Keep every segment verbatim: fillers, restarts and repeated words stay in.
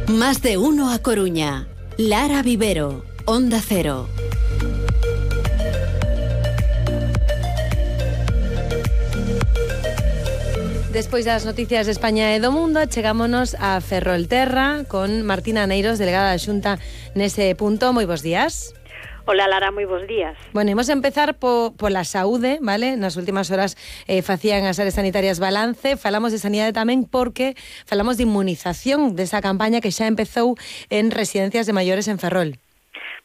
Más de uno a Coruña. Lara Vivero, Onda Cero. Despois das noticias de España e do mundo, chegámonos a Ferrolterra con Martina Neiros, delegada da Xunta nese punto. Moi bons días. Hola Lara, moi bons días. Bueno, imos empezar po, pola saúde, vale? Nas últimas horas eh, facían as áreas sanitarias balance, falamos de sanidade tamén porque falamos de inmunización desa campaña que xa empezou en residencias de maiores en Ferrol.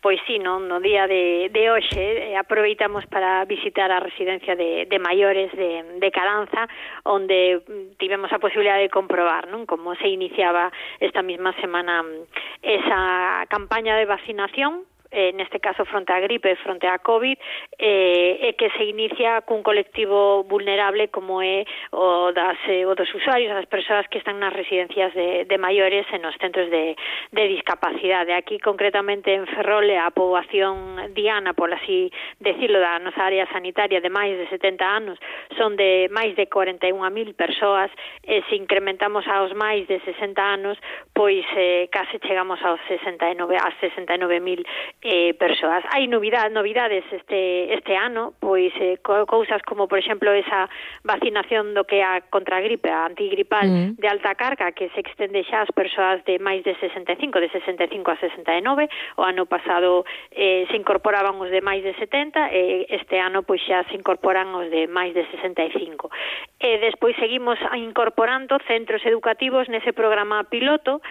Pois sí, no, no día de, de hoxe eh, aproveitamos para visitar a residencia de, de maiores de, de Caranza, onde tivemos a posibilidade de comprobar, non, como se iniciaba esta mesma semana esa campaña de vacinación, eh, neste caso fronte á gripe, fronte á COVID, eh, e que se inicia cun colectivo vulnerable como é o, das, eh, o dos usuarios, as persoas que están nas residencias de, de maiores e nos centros de, de discapacidade. Aquí, concretamente, en Ferrol, a poboación diana, por así decirlo, da nosa área sanitaria de máis de setenta anos, son de máis de cuarenta e unha mil persoas, e se incrementamos aos máis de sesenta anos, pois eh, case chegamos aos sesenta e nove, a sesenta e nove mil Eh, persoas. Hai novidades, novidades este este ano, pois eh, cousas como, por exemplo, esa vacinación do que é a contra a gripe, a antigripal mm. de alta carga, que se extende xa ás persoas de máis de sesenta e cinco, de sesenta e cinco a sesenta e nove. O ano pasado eh, se incorporaban os de máis de setenta, e este ano pois xa se incorporan os de máis de sesenta e cinco. E despois seguimos incorporando centros educativos nese programa piloto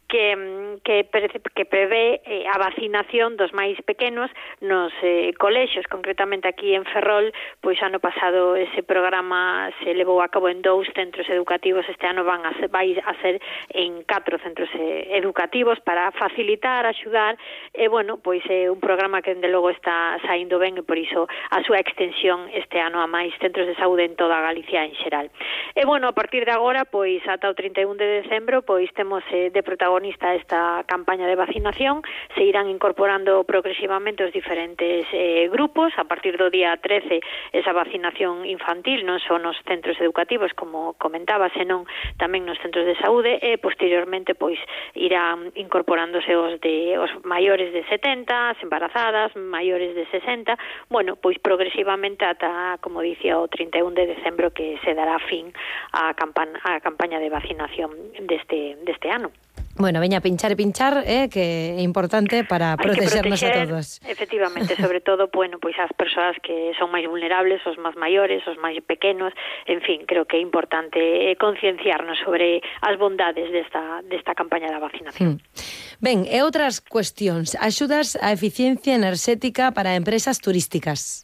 que, que, que prevé eh, a vacinación dos máis pequenos nos eh, colexios, concretamente aquí en Ferrol, pois ano pasado ese programa se levou a cabo en dous centros educativos, este ano van a ser, vai a ser en catro centros eh, educativos para facilitar, axudar, e bueno, pois é eh, un programa que dende logo está saindo ben, e por iso a súa extensión este ano a máis centros de saúde en toda Galicia en xeral. E bueno, a partir de agora, pois ata o trinta e un de decembro, pois temos eh, de protagonista esta campaña de vacinación, se irán incorporando progresivamente os diferentes eh, grupos. A partir do día trece, esa vacinación infantil non só nos centros educativos, como comentaba, senón tamén nos centros de saúde, e posteriormente pois irán incorporándose os de os maiores de setenta, as embarazadas, maiores de sesenta, bueno, pois progresivamente ata, como dicía, o trinta e un de decembro, que se dará fin á campaña, á campaña de vacinación deste, deste ano. Bueno, veña, pinchar e pinchar, eh, que é importante para protegernos proteger, a todos. Efectivamente, sobre todo, bueno, pois as persoas que son máis vulnerables, os máis maiores, os máis pequenos, en fin, creo que é importante concienciarnos sobre as bondades desta, desta campaña da vacinación. Hmm. Ben, e outras cuestións, axudas á eficiencia enerxética para empresas turísticas.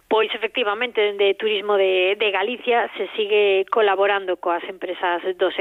Pois, efectivamente, dende Turismo de, de Galicia se sigue colaborando coas empresas do sector